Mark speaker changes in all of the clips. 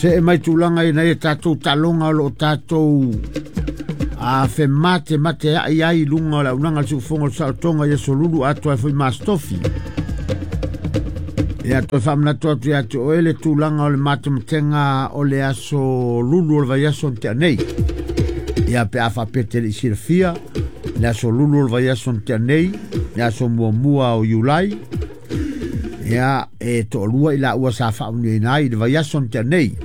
Speaker 1: Se e mai tulaga ina ia tatou taaloga o loo tatou a femate mate ai ai luga o le aunaga le siufofoga o le saolotoga i aso Lulu atoa ai foi ma Aso Tofi. Ia toe faamanatu atu ia te oe le tulaga o le matematega o le aso Lulu o le vaiaso na tea nei. Ia pe a faapea te le i silafia, le aso Lulu o le vaiaso na tea nei, le aso muamua o Iulai, ia e toalua i laua sa faamanuiaina ai i le vaiaso na tea nei.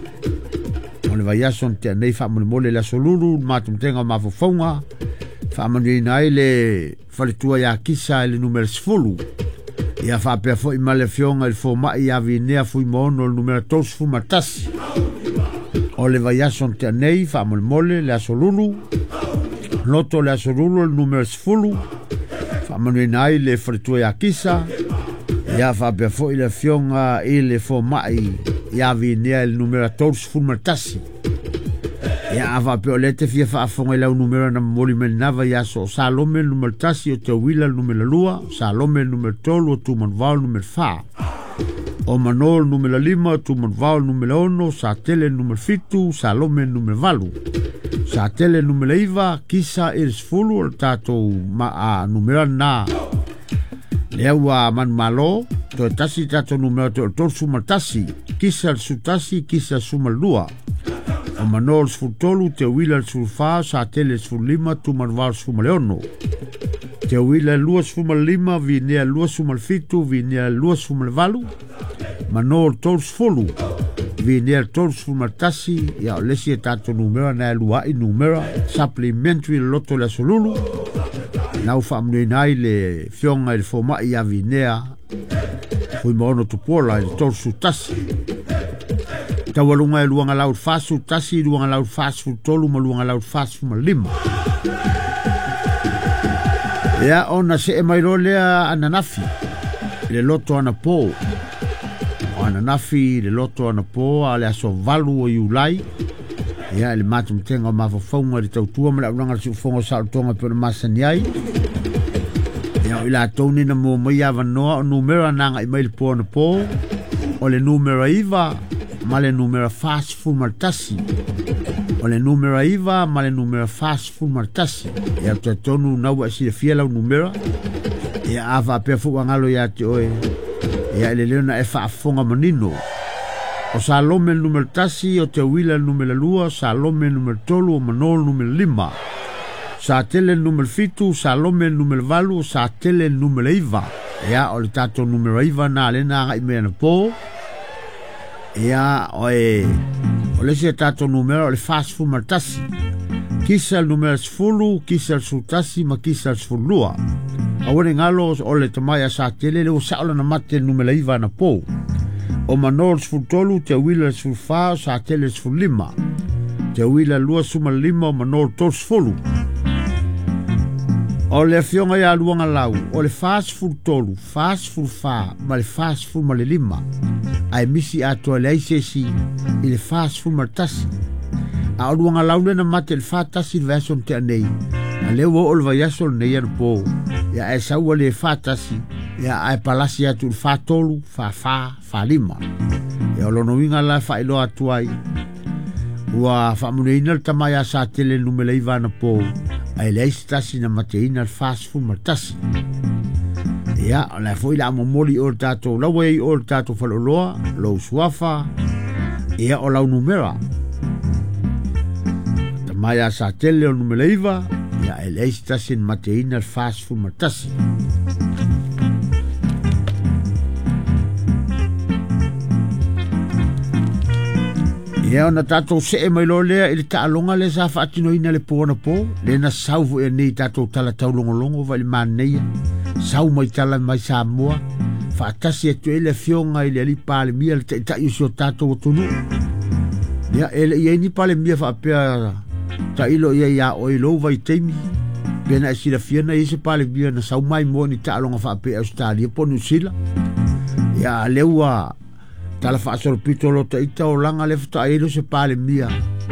Speaker 1: O le vaiaso na tea nei faamolemole le aso Lulu, le matematega o mafaufauga, faamanuiaina ai le faletua ia Kisa i le numera 10. Ia faapea foi ma le afioga i le fomai ia Vinea Fuimaono i le numera 31. O le vaiaso na tea nei faamolemole le aso Lulu, loto le aso Lulu le numera 10, faamanuiaina ai le faletua ia Kisa. Ia faapea foi le afioga i le fomai ia Vinea i le numera 31. Ia a faapea o lea te fia faafofoga i lau numera na momoli mai lena vaiaso, o Salome le numera 1, o Teuila le numera 2, o Salome le numera 3, o Tumanuvao le numera 4, o Mano le numera 5, o Tumanuvao le numera 6, Satele le numera 7, Salome le numera 8, Satele le numera 9, Kisa i le 10, o le tatou numera lena. Lea ua manumalo, toe tasi tatou numera toe o le 31, Kisa le 11, Kisa le 12, o Mano le 13, Teuila le 14, Satele le 15, Tumanuvao le 16, Teuila le 25, Vinea le 27, Vinea le 28, Mano le 30, Vinea le 31, ia o le isi e tatou numera na e lua ai numera, supplementary le loto le aso Lulu, na ua faamanuiaina ai le afioga i le fomai ia Vinea Fuimaono Tupuola i le 31. Taualuga e luaga lau 41, luaga lau 43 ma luaga lau 45. Ia ona see mai loa lea ananafi le loto anapo. O ananafi le loto anapo a le aso 8 o Iulai. Ia i le matematega o mafaufauga i le tautua ma le aunaga le siufofoga o saolotoga e pei ona masani ai. Ia o i latou nei na mua mai avanoa o numera na agai mai le po anapo, o le numera 9 ma le numera 41. O le numera 9 ma le numera 41. Ia ou te talitonu na ua e silafia lau numera. Ia a faapea foi ua galo ia te oe, ia e lelei ona e faafofoga manino. O Salome le numera 1, o Teuila le numera 2, o Salome le numera 3, o Mano le numera 5, Satele le numera 7, Salome le numera 8, o Satele le numera 9. Ia o le tatou numera 9 na lea na agai mai anapo. Ia o le isi tatou numera o le 41. Kisa le numera 10, Kisa le 11 ma Kisa le 12. Aua ne galo o le tamai a Satele le ua sao lana mate le numera 9 anapo. O Mano le 13, Teuila le 14, o Satele le 15, Teuila le 25, o Mano le 30. O le afioga ia Luaga Lau, o le 43, 44 ma le 45. Ae misi atoa leai se isi i le 41. A o Luaga Lau lena mate i le 41 le vaiaso na tea nei. A lea ua oo le vaiaso lenei anapo. Ia ae sau ua le 41, ia ae palasi atu i le 43, 44, 45. Ia o lona uiga la e faailoa atu ai, ua faamanuiaina le tama ia Satele le numera 9 anapo, ae leai se tasi na mateina le 41. Ia, o le a foi le a momoli o le tatou laua ai o le tatou faleoloa, lou suafa, ia o lau numera. Tama ia Satele o le numera 9, ia e leai se tasi na mateina le 41. Ia ona tatou see mai loa lea i le taaloga lea sa faatinoina le po anapo, lea na sau foi nei tatou tala taulogologo vai le manaia, sau mai tala mai Samoa, faatasi atu ai le afioga i le alii Palemia, le taitai o si o tatou atunuu. Ia e le i ai ni Palemia faapea tailo ia ia oe i lou vaitaimi, pe na e silafia na i ai se Palemia na sau mai moa ni taaloga faapea Australia po o Niu Sila. Ia lea ua tala faasolopito lo taita o laga le faatoa ai lea o se Palemia,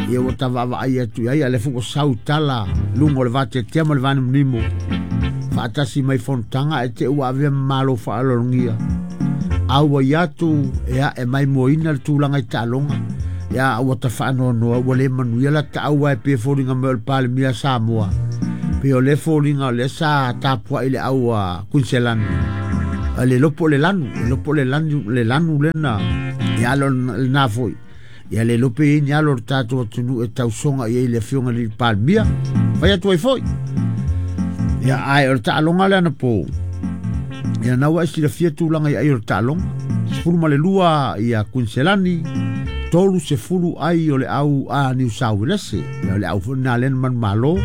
Speaker 1: ia ua tavaavaai atu i ai, a lea foi ua sau tala luga o le vateatea ma le vanimonimo faatasi mai fonotaga ae te ua avea ma malo faaaloalogia. Auai atu e ae maimoaina le tulaga i taaloga. Ia ua tafaanoanoa ua le manuia la taau ai pe foliga mai o le Palemia Samoa pe o le foliga o lea sa tapuai le au a Kuiniselani le lopo le lanu le lopo le lanu le lanu lena ia lo lena foi ia le lope i ni alo o le tatou atunuu e tausoga i ai le afioga i le Palemia fai atu ai foi. Ia ae o le taaloga lea na po ia na ua e silafia tulaga i ai o le taaloga 12 ia Kuiniselani 30 ai o le au a Niu Sauelese ia o le au foi na lena manumalo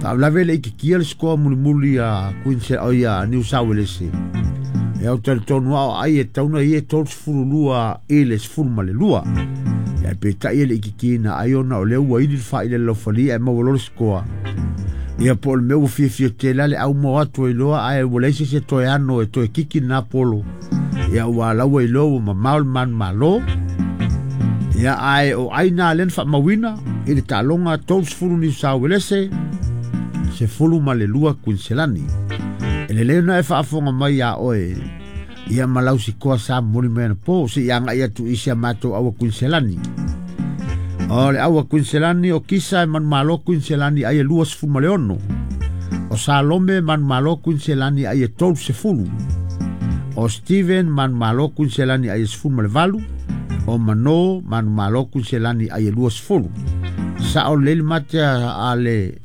Speaker 1: faalavelave le itikia le sikoa mulimuli a Queensland o ia Niu Sauelese ia o talitonu ao ai e tauna ia 32 i le 12 ia peitai e le itikina ai ona o lea ua ili le faaile laufalia e maua loa le sikoa ia po o le mea ua fiafia tele le au mo atu ai loa ae ua leai se isi e toe ano e toe kiki lena polo ia ua laua iloa ua mamao le manumalo ia ae o ai nā lea na faamauina i le taaloga 30 Niu Sauelese 12 Kuiniselani. E lelei ona e faafofoga mai iā oe ia ma lau sikoa sa momoli mai anapo seia agai atu i si a matou aua Kuiniselani. O le aua Kuiniselani o Kisa e manumalo Kuiniselani ai e 26. O Salome manumalo Kuiniselani ai e 30. O Steven manumalo Kuiniselani ai e 18. O Mano manumalo Kuiniselani ai e 20. Sao lelei le mate a le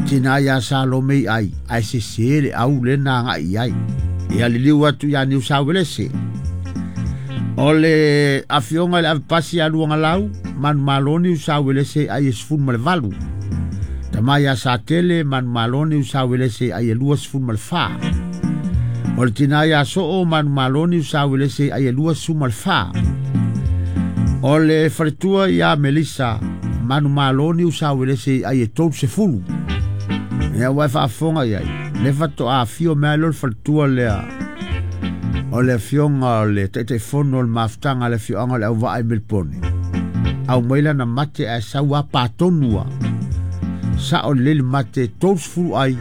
Speaker 1: tina ia Salome i ai ae sese le au lena agai i ai. Ia liliu atu ia Niu Sauelese. O le afioga i le avepasi ia Luagalau, manumalo Niu Sauelese ai e 18. Tama ia Satele, manumalo Niu Sauelese ai e 24. O le tina ia Soo, manumalo Niu Sauelese ai e 24. O le faletua ia Melissa, manumalo Niu Sauelese ai e 30. Ia ua e faafofoga i ai, le faatoa afio mai lea o le faletua lea o le afioga o le Taitaifono o le mafutaga a le afioaga o le Auvaa i Melipone. Aumai lana mate ae sau a patonu a. Sao lelei le mate 30 ai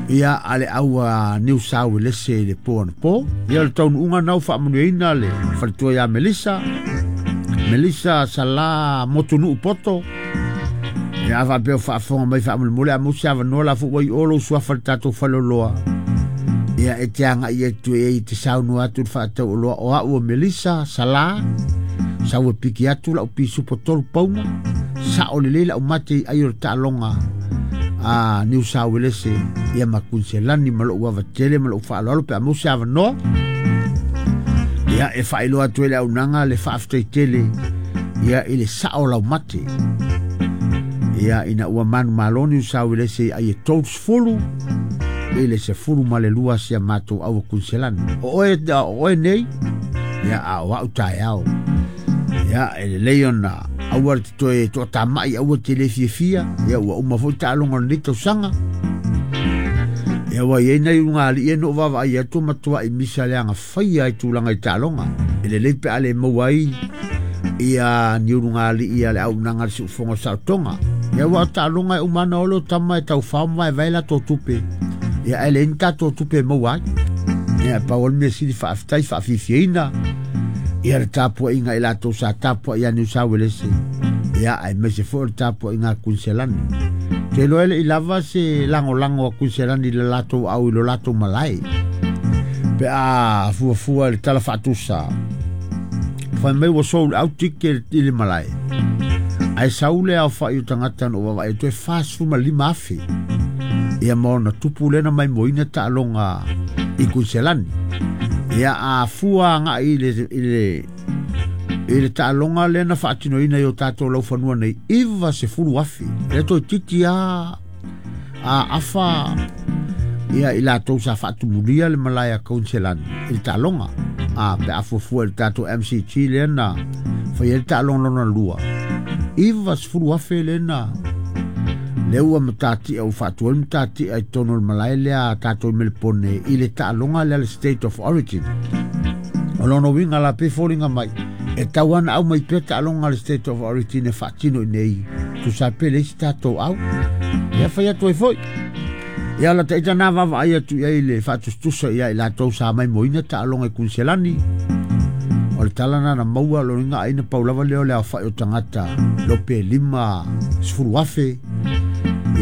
Speaker 1: ia a le au a Niu Sauelese i le po anapo. Ia o le taunuuga na ua faamanuiaina le faletua ia Melissa. Melissa Sala Motunuu Poto. Ia a faapea o faafofoga mai faamolemole a maua se avanoa la foi ua i o lou suafa i le tatou faleoloa. Ia e te agai atu e i te saunoa atu i le faatauoloa o au o Melissa Sala. Sau e piki atu lau pisupo 3 pauna. Sao lelei lau mate i ai o le taaloga a Niu Sauelese ia ma Kuiniselani ma lou avatele ma lou faaaloalo pe a maua se avanoa. Ia e faailoa atu ai le auaunaga le faafetai tele ia i le sao lau mate. Ia ina ua manumalo Niu Sauelese ai e 30 i le 12 si a matou aua Kuiniselani. O oe nei ia a o au taeao. Ia e lelei ona aua le toe toatamai aua te le fiafia ia ua uma foi taaloga o lenei tausaga. Ia ua iai nai ulugalii e no vaavaai atu matuai misa le agafaia ai tulaga i taaloga. E lelei pe a le maua ai ia ni ulugalii a le auaunaga a le siufofoga o le saotoga. Ia ua o taaloga e uma ana ole o tama e taufao ma vaevae latou tupe. Ia ae leai ni tatou tupe e maua ai. Ia pau o le mea sili faafetai faafiafiaina ia le tapuaiga i latou sa tapuai ia Niu Sauelese. Ia aemaise foi o le tapuaiga a Kuiniselani. Te iloa e le i lava se lagolago a Kuiniselani i le latou au i lo latou malae. Pe a fuafua i le tala faatusa. Fai mai ua sold out ticket i le malae. Ae sau le aofai o tagata na ou vaavaai atu e 45,000. Ia ma ona tupu lea na maimoaina taaloga i Kuiniselani. Ia a fua agai i le taaloga lea na faatinoina i o tatou laufanua nei 90,000. Lea toeitiiti a afa ia i latou sa faatumulia le malae a Kuiniselani i le taaloga. A pe a fuafua i le tatou MCG lea na fai ai le taaloga lona lua 90,000 lea na lea ua matatia ua faatu ai le matatia i totonu o le malae lea a tatou i Melipone i le taaloga lea le State of Origin. O lona uiga la pe foliga mai e tau ana au mai pea taaloga le State of Origin e faatino i nei tusa pe le isi tatou au. Ia fai atu ai foi. Ia la taita nā vaavaai atu i ai le faatusatusa ia i latou sa maimoaina taaloga i Kuiniselani. O O le tala na maua lo inga aina paulava leo le aofai o tagata lope 50,000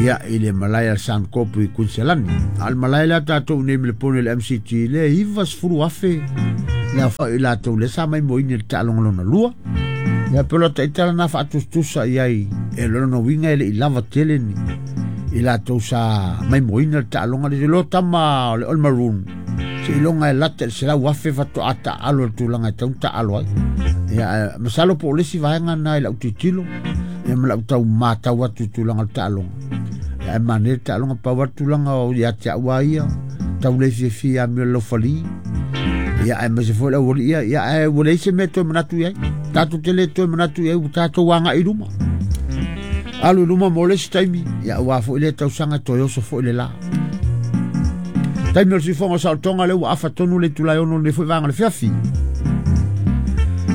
Speaker 1: ia i le malae a Suncorp i Queensland. A o le malae lea tatou nei ma le pone le MCG le 90,000 le aofai i latou le sa mai moini le taaloga lona lua. Ia pe lo taitala na faatusatusa i ai e lona uiga e le i lava tele ni i latou sa mai moina le taaloga le lo tama o le All Maroon. Se iloga e lata le 100,000 faatoa taalo le tulaga e tau taalo ai. Ia masalo po o le isi vaega na i lau tilotilo ia ma lau tau matau atu i tulaga o le taaloga. Ia e manaia le taaloga pau atu tulaga o ia te au a ia tau le fiafia ia mea laufali. Ia ae maise foi le auali ia ia ae ua leai se mea toe manatu i ai. Tatou te le toe manatu i ai ua tatou agai i luma. Alu i luma mo le isi taimi ia aua foi le tausaga toe oso foi le la. Taimi o le sifoga o saolotoga lea ua afa tonu le itula e 6 lenei foi vaega o le fiafi.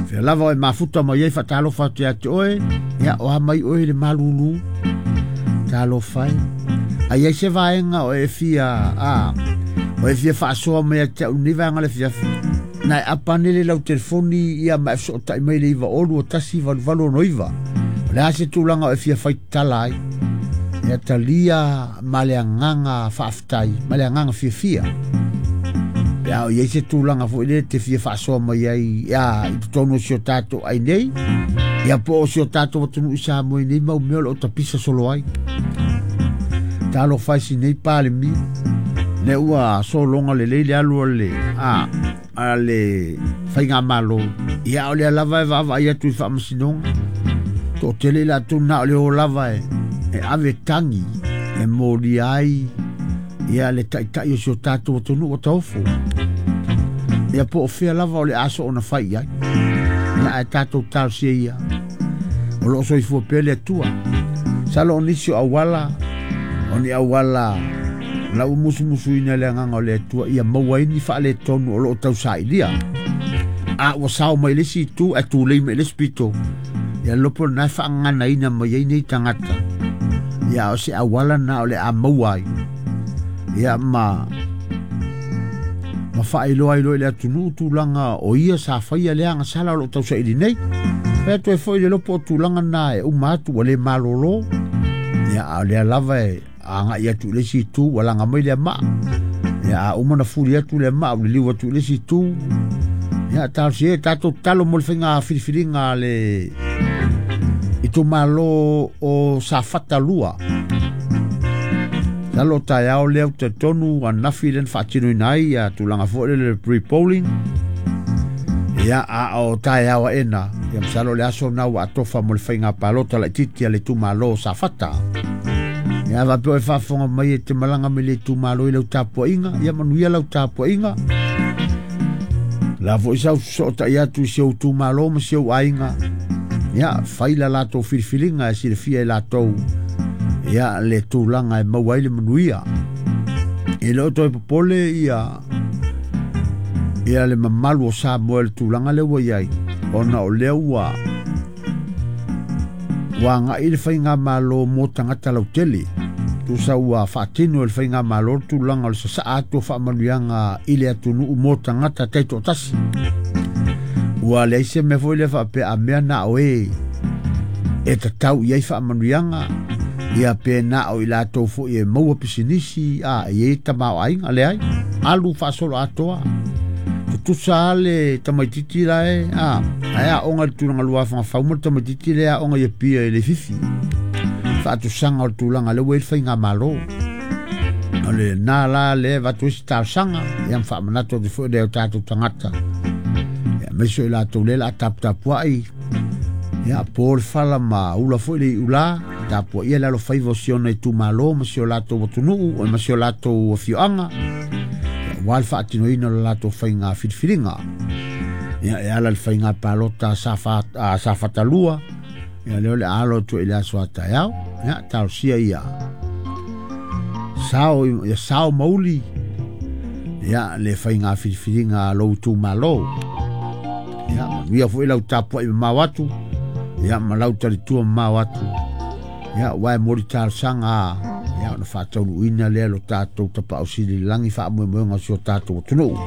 Speaker 1: Fea lava o e mafuta mai ai faatalofa atu ia te oe, ia o a mai oe i le malulu. Talofa e. Ai ai se vaega o e fia, o e fia faasoa mai ia te au lenei vaega o le fiafi. Na e apane le lau telefoni ia ma e fesootai mai le 9 2 1 8 8 6 9. O le a se tulaga o e fia faitala ai. Ia talia ma le agaga faafetai, ma le agaga fiafia. Pe a o i ai se tulaga foi lea te fia faasoa mai ai ia i totonu o si o tatou ai nei, ia po o si o tatou atunuu i Samoa i nei mau mea o lo o tapisa solo ai. Talofa e si nei Palemia, lea ua sologa lelei le alu a le, a le faigamalo. Ia o lea lava e vaavaai atu i faamasinoga. Toatele i latou na o le o lava e ave tagi e molia ai ia le taitai o si o tatou atunuu o taofo. Ia po o fea lava o le aso ona fai i ai. Ia ae tatou talosia ia. O lo o soifua pea le Atua. Salo o nisi o auala, o ni auala lau musumusuina le agaga o le Atua ia maua ai ni faaletonu o lo o tausailia. A ua sao mai le isi itu ae tulei mai le isi pito. Ia lopo na e faagaganaina mai ai nei tagata. Ia o se auala na o le a maua ai. Ia ma faailoa ai loa i le atunuu tulaga o ia sa faia le agasala o lo o tausaili nei. Fai atu ai foi le lopo o tulaga na e uma atu ua le malolo. Ia a o lea lava e agai atu i le isi itu ua laga mai le maa. Ia a uma na fuli atu le maa ua liliu atu i le isi itu. Ia talosia e tatou tatalo mo le faiga filifiliga a le itumalo o Safata 2. Salo taeao lea ou te tonu anafi lea na faatinoina ai ia tulaga foi lele le pre-polling. Ia a o taeao aena, ia masalo le aso na ua atofa mo le faiga palota laitiiti a le itumalo o Safata. Ia faapea e faafofoga mai e te malaga mai le itumalo i lau tapuaiga, ia manuia lau tapuaiga. La foi sau sootai atu i si ou itumalo ma si ou aiga. Ia fai la latou filifiliga e silafia e latou ia le tulaga e maua ai le manuia. E le o toe popole ia le mamalu o Samoa i le tulaga lea ua i ai, ona o lea ua agai le faigamalo mo tagata lautele. Tusa ua faatino e le faigamalo le tulaga o le sasaa atu o faamanuiaga i le atunuu mo tagata taitoatasi. Ua leai se mea foi lea faapea a mea na o e tatau i ai faamanuiaga, ia pe na o i latou foi e maua pisinisi a e i tamaoaiga leai. Alu faasolo atoa. Tutusa le tamaititi la e ae aoga i le tulaga luafaga fau ma le tamaititi le aoga i Apia i le fifi. Faatusaga o le tulaga lea ua i le faigamalo. O le na la le avatu ai se talosaga, ia ma faamanatu atu foi le o tatou tagata. Ia aemaise o i latou lea o le a taputapuai, ia po le fala ma ula foi le iula, tapuaia le alofaiva o si ona itumalo ma si o latou atunuu ma si o latou afioaga. Ia aua le faatinoina o le latou faiga filifiliga. Ia e ala le faiga palota Safata 2, ia lea o le alo atu i le aso a taeao. Ia talosia ia sao, ia sao mauli ia le faiga filifiliga a lou itumalo. Ia manuia foi lau tapuai mamao atu, ia ma lau talitua mamao atu. Ia ua e moli talosaga, ia ona faataunuuina lea lo tatou tapaau sili i le lagi faamoemoega o si o tatou atunuu.